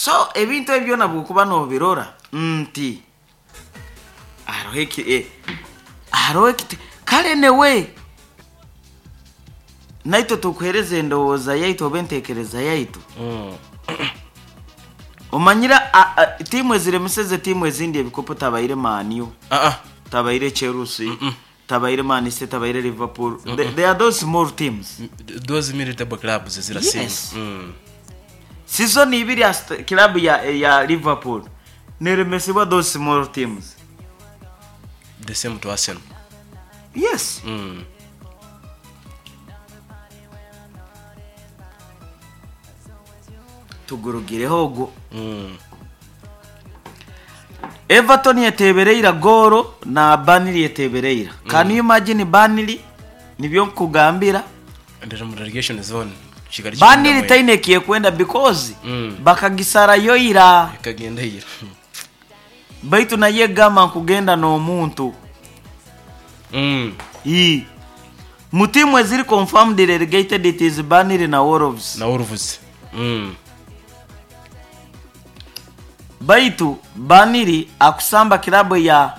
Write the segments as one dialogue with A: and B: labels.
A: So ebintu ebyo byona bwokuba nobirora nti haroho eki haroho ekiti kale newe naitwe tukuhereza endowooza yaitu oba entekereza yaitu. Omanyire tiimu eziremiseze tiimu ezindi ebikopo tabaire Man U, tabaire Chelsea, tabaire Man City, tabaire Liverpool. They are those small teams.
B: Those mid table clubs ezirasinga.
A: Yes. Season ibiri club ya Liverpool neremesibwa those small teams.
B: The same to Arsenal.
A: Yes. Tugurugireho ogwo. Everton yetebereira goolo na Burnley yetebereira. Can you imagine Burnley? Nibyo nkugambira.
B: Ndera mu relegation zone. Kigali
A: Burnley taine ekyekwenda because bakagisarayo ira.
B: Ikagenda ira.
A: Baitu naye egamba nkugenda n'omuntu. Mu tiimu eziri confirmed relegated it is Burnley na Wolves.
B: Na Wolves.
A: Baitu Burnley akusamba kilabu ya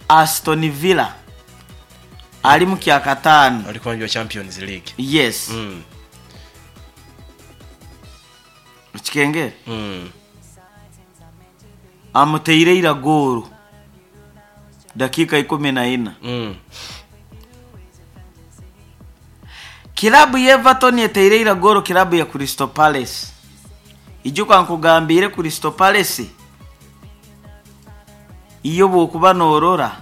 A: Aston Villa ali mu kyakataano.
B: Ali kwanjwa Champions League.
A: Yes. Ekikengere. Amuteire ira goolo dakiika 14. Kilabu ya Everton eteire ira goolo kilabu ya Crystal Palace. Ijuka nkugambire Crystal Palace iyo bwokuba norora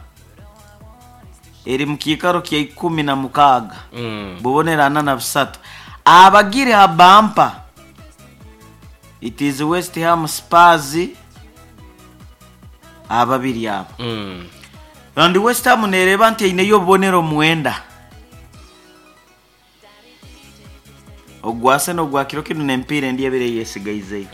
A: eri mu kiikaro kya 16. Bubonerana na 3. Abagire habampa it is West Ham, Spurs ababiri abo. And West Ham nereba nti eineyo obubonero 9. Ogwa Arsenal ogwa kiro kinu n'empiira endi ebiri eyesigaizeyo.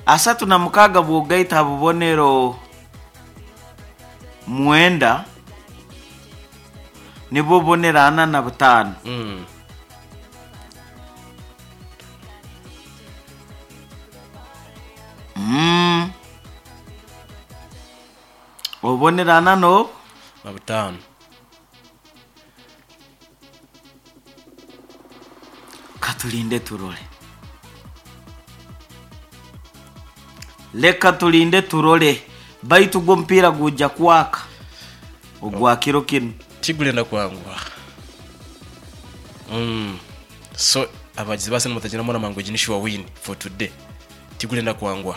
A: 36 bwogaita bubonero 9 nibwo bubonero 45. Obubonero ana no
B: na butaano.
A: Katulinde turole. Leka tulinde turole. Baitu gwo mpira guja kwaka. Ogwa kiro kinu.
B: Tigulenda kwangwa. So abagizi base mutagira mona mango jinishiwa win for today. Tigulenda kwangwa.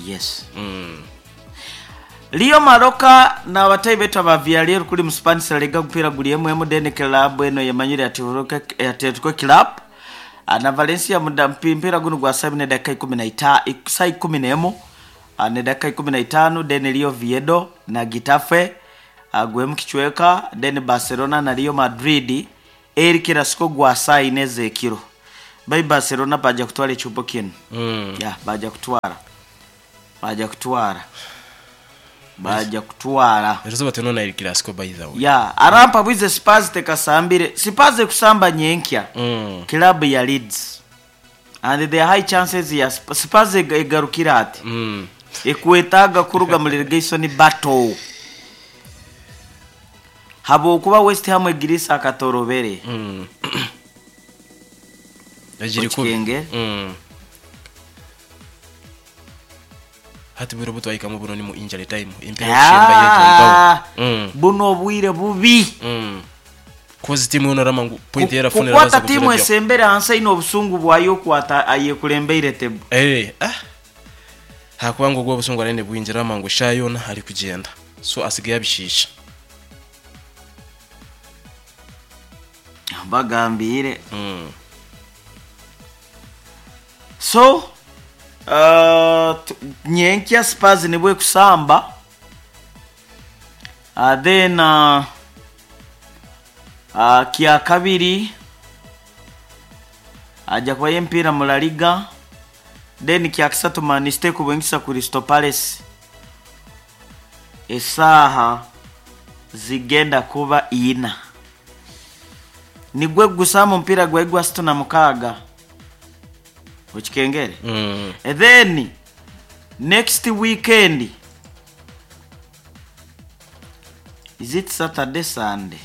A: Yes. Leo Maroka na abatai betu aba Villarreal kuli mu Spanish La Liga mpira guli MM Dene Club eno yemanyire Atletico Club. Na Valencia muda mpira guno gwa saa ne dakika ikumi na ita, saa ikumi na emu, ne dakika 15 Dene Leo Viedo na Getafe gwemu kichweka Dene Barcelona na Real Madrid El Clasico gwa saa ine zekiro. Bai Barcelona baja kutwara echupo kinu. Ya baja kutwara. Baja kutwara. Baja kutwara.
B: Ezo bateno na El Clasico by the way.
A: Ya arampa bwize Spurs tekasambire. Spurs kusamba nyenkya. Club ya Leeds. And there are high chances ya Spurs egarukira ati. Ekuetaga kuruga mu relegation battle. Habo kuba West Ham egirisa akatorobere.
B: Yagiri kubi.
A: Okikenge.
B: Hati bwire butwaika mu buno ni mu injury time. Impera kushemba yejo.
A: Buno obwire bubi.
B: Kozi timu yono ramangu point yera funera
A: Kukwata timu esembere hansi ino obusungu bwayo kwata ayekulembeire tebu.
B: Hakubango gwo obusungu arene bwinjira ramangu shayona ari kugenda. So asigaye abishisha.
A: Bagambire. So nyenkya Spurs nibwe kusamba. Then kya kabiri aja kwa mpira mu La Liga. Then kya kisatu Man City kubwengisa Crystal Palace. Esaha zigenda kuba ina. Nigwe gusama mpira gwa igwa 66. Okikengere. And then next weekend, is it Saturday, Sunday?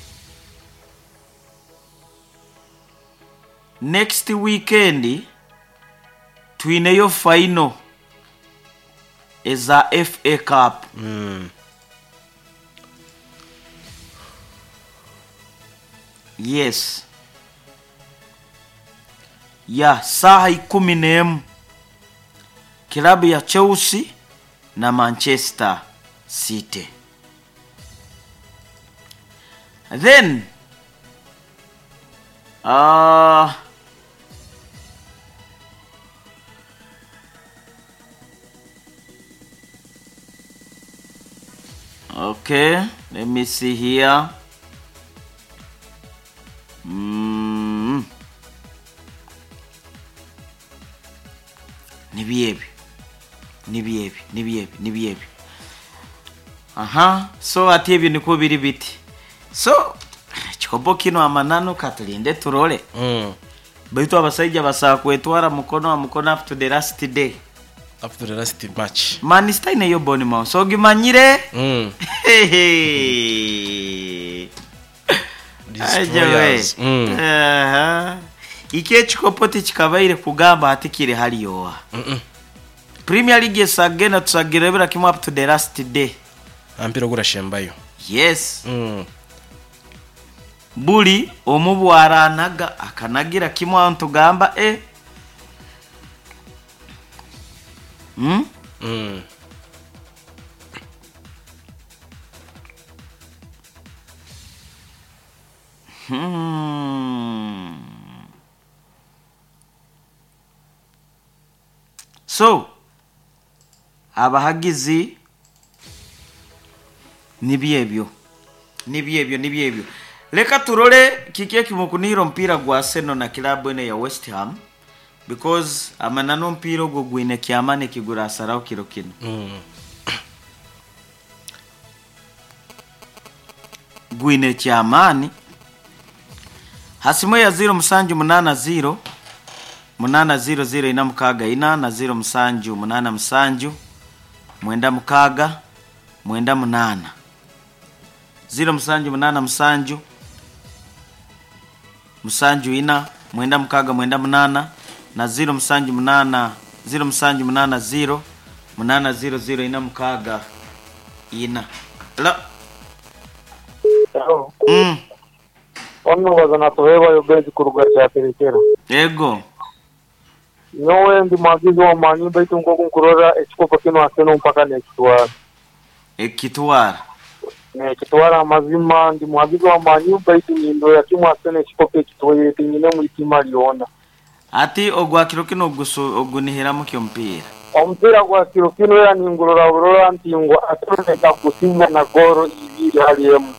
A: Next weekend twineyo final eza FA Cup. Yes, ya saha 11, kilabu ya Chelsea na Manchester City. Then okay, let me see here. Nibyebi nibyebi nibyebi nibyebi. Aha, so ati ebyo niko biri biti. So ekikopo kino amananu katulinde turole. Baitu abasaija basaa kwetwara mukono wa mukono up to the last day.
B: Up to the last match.
A: Manchester ineyo Bournemouth, so gimanyire.
B: Destroyers.
A: Aha. Iki ekikopo tikikabaire kugamba ati kiri haliyoa. Premier League esagenda tusagirebera kimwe up to the last day.
B: Ampira gurashembayo.
A: Yes. Buli omu bwaranaga akanagira kimwe aho ntugamba e. So abahagizi nibyebyo nibyebyo nibyebyo. Leka turole kiki ekimukunira omupiira gwa Arsenal na kilabu eno ya West Ham, because amanano omupiira ogwo gwine kyamani ekigurasaraho kiro kino. Gwine kyamaani. Hasimu ya 0780 800 464 na 0787 96 98 0787 74 96 98 na 078 0780 800 464. La.
C: Hello. Ono wazana tuhewa yobenzi kuruga kyaterekera.
A: Ego.
C: Nyowe ndi mwagizi wa manyi baitu ngoku nkurora ekikopo kino Arsenal mpaka nekitwara.
A: Ekitwara.
C: Nekitwara amazima ndi mwagizi wa manyi baitu nindora kimwe Arsenal ekikopo ekitwaire tinyine mu itima lyona.
A: Ati ogwa kiro kino ogunihiramu kyo mpira.
C: Omupiira gwa kiro kino era ningurora burora nti ngo Arsenal ekakusinga na goro ibiri hali emu.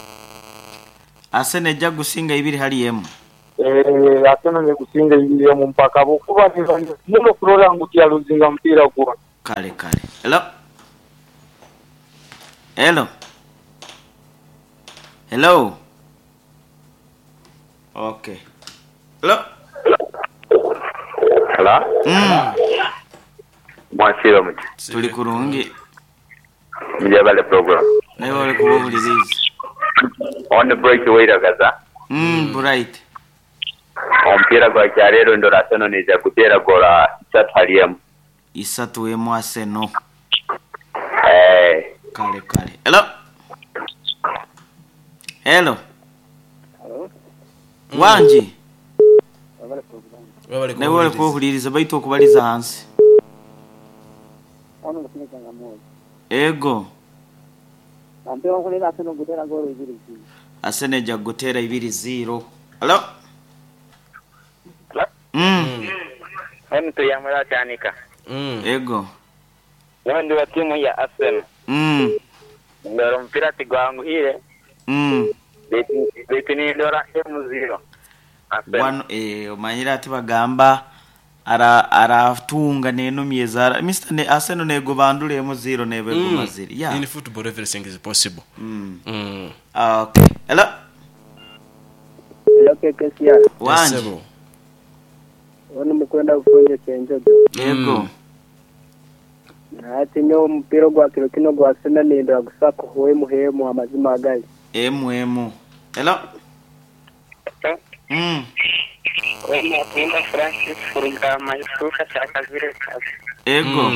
A: Arsenal ejja gusinga ibiri hali emu.
C: Arsenal negusinga ibiri emu mpaka bokuba muno kurora ngu tiyaluzinga mupiira gwona.
A: Kale kale. Hello. Hello. Hello. Okay. Hello.
D: Hello. Mwasiro muti.
A: Tuli kurungi.
D: Mjabale program.
A: Nawe wali kuwuliriza.
D: On the break wairagaza.
A: Bright.
D: Omupiira gwa kyaleero ndora Arsenal neija kuteera gola isatu hali emu.
A: Isatu emu Arsenal. Kale kale. Hello. Hello. Wanji. Nawe wali kuwuliriza baitu okubaliza hansi. Ego. Arsenal ejja kugutera 2-0. Hello.
E: Mtu yamara chanika.
A: Ego.
E: Ndi wa timu ya Arsenal. Ndora mpira tigwanguhire. Baitu nindora M0.
A: Wano omanyira ati bagamba aratunga nenumye zara Mr. ne Arsenal nego bandule M0 nebe gumaziri. Yeah.
B: In football everything is possible.
A: Okay. Hello.
E: Hello KKCR.
A: Wanji.
C: Ono mukwenda kufunye Kyenjojo.
A: Yego.
C: Ati nyo omupiira gwa kiro kino gwa Arsenal nindora gusako hwemu hemu amazima agali.
A: Emu emu. Hello.
E: Wema Francis Furugama Yusuka Kyakazire kazi.
A: Ego.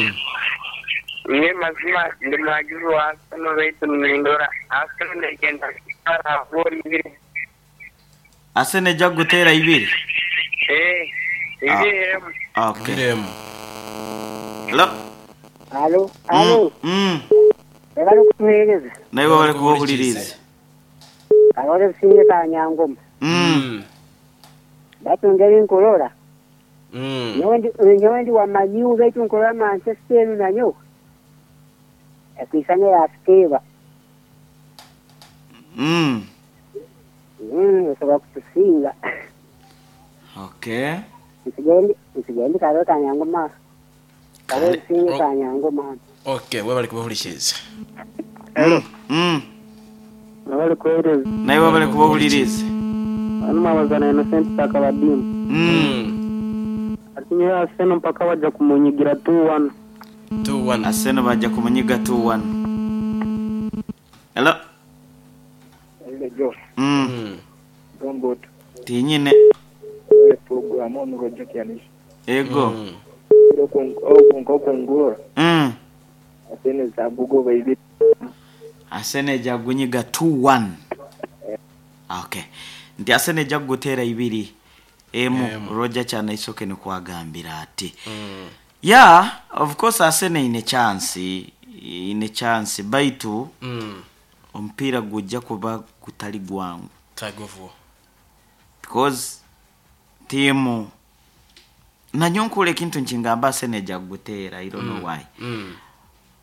E: Mwe mazima ndi mwagizi wa Arsenal baitu nindora Arsenal negenda kutwara goli ibiri.
A: Arsenal ejja kugutera ibiri.
E: Ibiri emu.
A: Okay.
B: Ibiri emu.
A: Hello.
F: Alo, alo. Bali kutuheereza.
A: Naye bali kuwuliriza.
F: Abale businge Kanyangoma. Batungeri nkurora. Nyowe ndi wa Man U baitu nkurora Manchester nanyo. Ekwisanya yatuteeba. Osobola kutusinga.
A: Okay.
F: Nsigendi karo Kanyangoma. Kare businge Kanyangoma.
B: Okay, webali kubahuliriza.
C: Hello. Nabali kuhereza.
A: Naye webali kubahuliriza.
C: Anuma wazana Innocent Sakabadimu. Atinye Arsenal mpaka wajja kumunyigira 2-1.
B: 2-1.
A: Arsenal bajja kumunyiga 2-1. Hello.
C: Hello Joe. Dongot.
A: Tinyine.
C: Program ono rojo kianisha.
A: Ego.
C: Kongora. Arsenal zabugo baibiri.
A: Arsenal jagunyiga 2-1. Okay. Nti Arsenal ejja kugutera ibiri emu. Roger cyane isoke ni kwagambira ati. Yeah, of course Arsenal ine chance, ine chance baitu omupiira gujja kuba gutali gwangu.
B: Tagovuo.
A: Because timu nanyonkule ekintu nkingamba Arsenal ejja kugutera, I don't know why.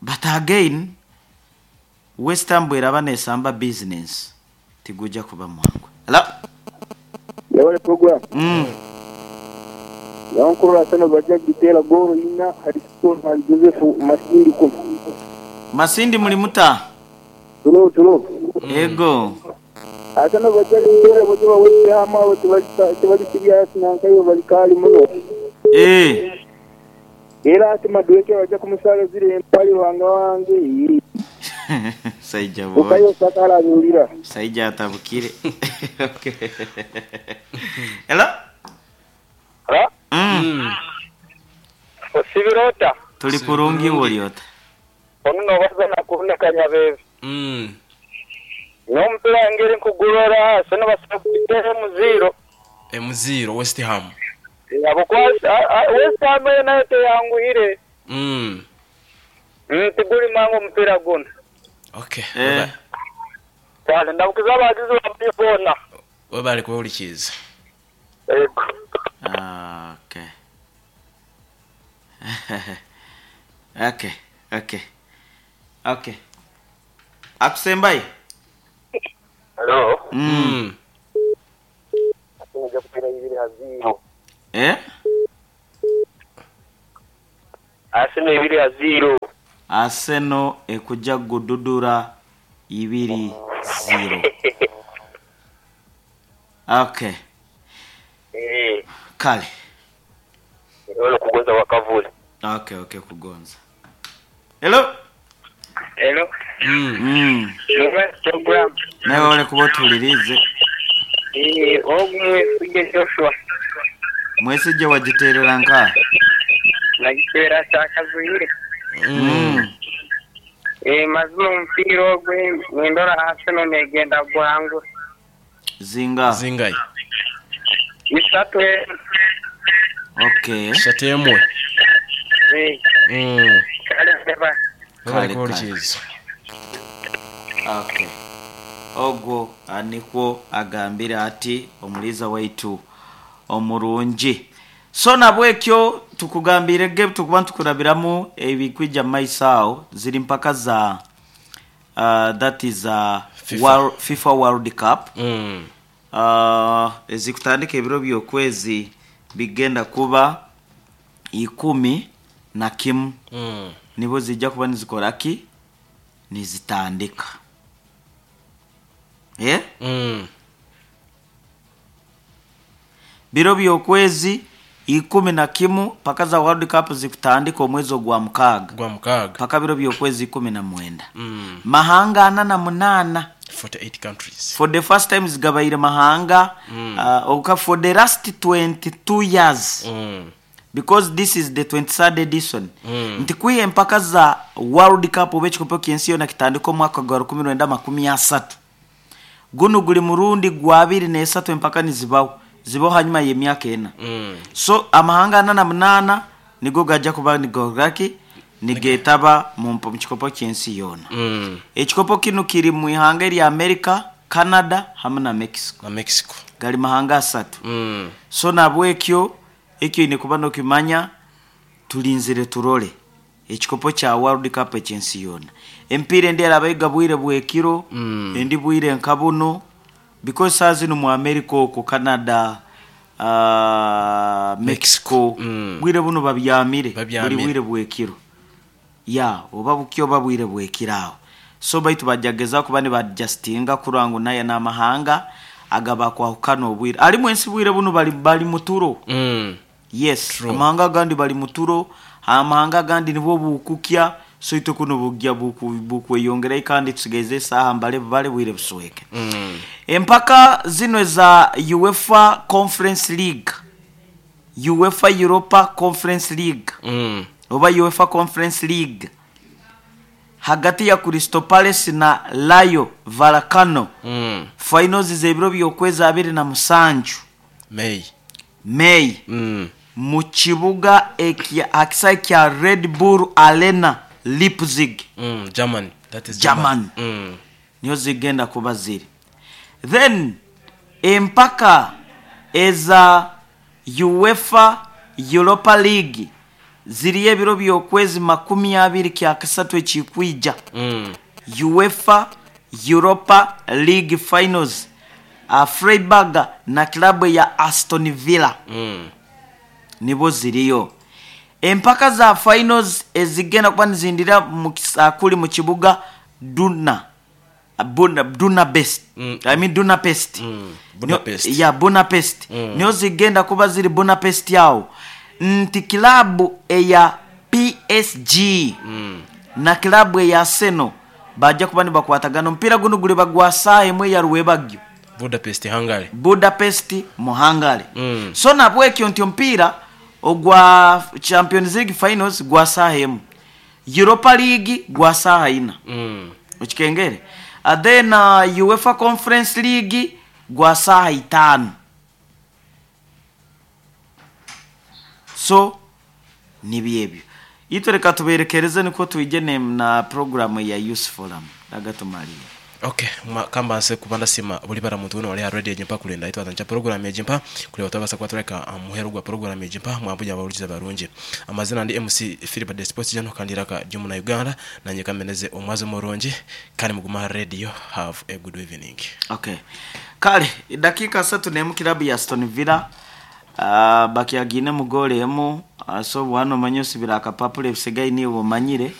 A: But again West Ham bweraba nesamba business tigujja kuba mwangu. Hello.
C: Yawale program. Yankuru Arsenal bajja gitera goro ina Harrison and Joseph Masindi kum.
A: Masindi muli muta.
C: Tulo.
A: Ego.
C: Arsenal bajja gitera bajja West Ham abo tibali serious nankayo bali kali muno. Era ati Madueke bajja kumusala zile empali wanga wange.
A: Saija boy.
C: Ukayo sakala nyulira.
A: Saija atabukire. Okay. Hello?
E: Hello? Osibirota.
A: Tuli kurungi woliota.
E: Ono nobaza nakunda kanyabebe. Nompira ngeri nkugurora Arsenal basakutera M0.
B: M0 West Ham.
E: Yabo West Ham nayo teyanguhire. Tiguli mango mpira guna.
B: Okay.
E: Kale ndabukiza abagizi babibona.
B: Webali kuwulikiza.
E: Ego.
A: Okay. Okay. Akusembai.
E: Hello. Asinja kupira ibiri haziro. Arsenal ibiri haziro.
A: Arsenal ekujja gududura 2-0. Okay. Kale.
E: Hello kugonza wakavule.
A: Okay, kugonza. Hello.
E: Hello. Program.
A: Nawe wale kubotulirize.
E: Ogumwe sije Joshua.
A: Mwesije wagiterera nka.
E: Nagitera chakazuire. Mazima omupiira ogwe nindora Arsenal negenda gwangu.
A: Zinga.
E: Isatu.
A: Okay.
B: Shatu emwe.
E: Kale
B: kale.
A: Okay. Ogwo anikwo agambira ati omuliza waitu omurungi. So nabwekyo tukugambire ge tukuba tukurabiramu ebikwija maisao ziri mpaka za that is FIFA World Cup. Ezikutandika ebiro by'okwezi bigenda kuba 11 nibo zijja kuba nizikora ki nizitandika. Biro by'okwezi 11 paka za World Cup zikutandika omwezi ogwa mukaaga,
B: Gwa mukaaga.
A: Paka biro byokwezi 19. Mahanga 48.
B: 48 countries.
A: For the first time zigabaire mahanga for the last 22 years, because this is the 23rd edition, nti kwiha empaka za World Cup oba ekikopo ky'ensi yona kitandika omwaka gwa 1930, guno guli murundi gwa 23 empaka nizibaho, zibaho hanyuma y'emyaka 4. So amahanga 48 nigo gajja kuba nigogaki nigetaba mu kikopo ky'ensi yona. Ekikopo kino kiri mu ihanga erya America, Canada hamwe na Mexico.
B: Na Mexico.
A: Gali mahanga 3. So nabwekyo ekyo ine kuba nokimanya, tulinzire turole ekikopo kya World Cup ekyensi yona. Empiira endi erabayiga bwire bwekiro, endi bwire nka buno, because saa zino mu America okwo, Canada, Mexico, bwire buno babyamire.
B: Babyamire.
A: Buli bwire bwekiro ya oba bukyo oba bwire bwekiro aho. So baitu bajageza kuba nibadjustinga kurora ngu naye n'amahanga agabakwahukana obwire alimu ensi bwire buno bali muturo. Yes.
B: True.
A: Amahanga agandi bali muturo, amahanga agandi nibwo bukukya, so itwe kuno bugya bukweyongerayo kandi tusigaize esaaha mbale bale bwire busweke. Empaka zino eza UEFA Conference League, UEFA Europa Conference League, oba UEFA Conference League, hagati ya Crystal Palace na Rayo Vallecano, finals z'ebiro by'okwezi 27.
B: May.
A: May. Mu kibuga akisaawe kya Red Bull Arena, Leipzig.
B: German. That is
A: German.
B: German.
A: Niyo zigenda kuba ziri. Then empaka eza UEFA Europa League ziriyo ebiro by'okwezi 23 ekikwija. UEFA Europa League finals, Freiburg na klabu ya Aston Villa, nibo ziriyo. Empaka za finals ezigenda kuba nizindira kuli mu kibuga Duna Budapest. I mean Budapest.
B: Budapest.
A: Ya Budapest. Niyo zigenda kuba ziri Budapest yawo, nti kilabu eya PSG na kilabu eya Arsenal bajja kuba nibakwatagana. Omupiira guno guliba gwa saaha emwe ya rwebagyo.
B: Budapest, Hungary.
A: Budapest mu Hungary. So nabwekyo nti omupiira ogwa Champions League finals gwa saaha emu, Europa League gwa saaha 4. Okikengere. Then UEFA Conference League gwa saaha 5. So nibyebyo itwe, reka tuberekereze niko twigene na programu ya Youth Forum agatumaliye.
B: Okay, kambanse kuba ndasima buli bara muntu wena wali ha radio ejimpa kulenda itwa tancha program ejimpa kule watabasa kwatuleka muheru gwa program ejimpa mwambuja abawuliza barungi. Amazina ndi MC Philip de Sports jano kandiraka jumu na Uganda nanye kameneze omwazo murungi kandi muguma ha radio. Have a good evening.
A: Okay, kale dakika 31, kilabu ya Aston Villa bakyagine mu goal emu. So bwana omanye osibira akapapula ebisigaye niwe omanyire.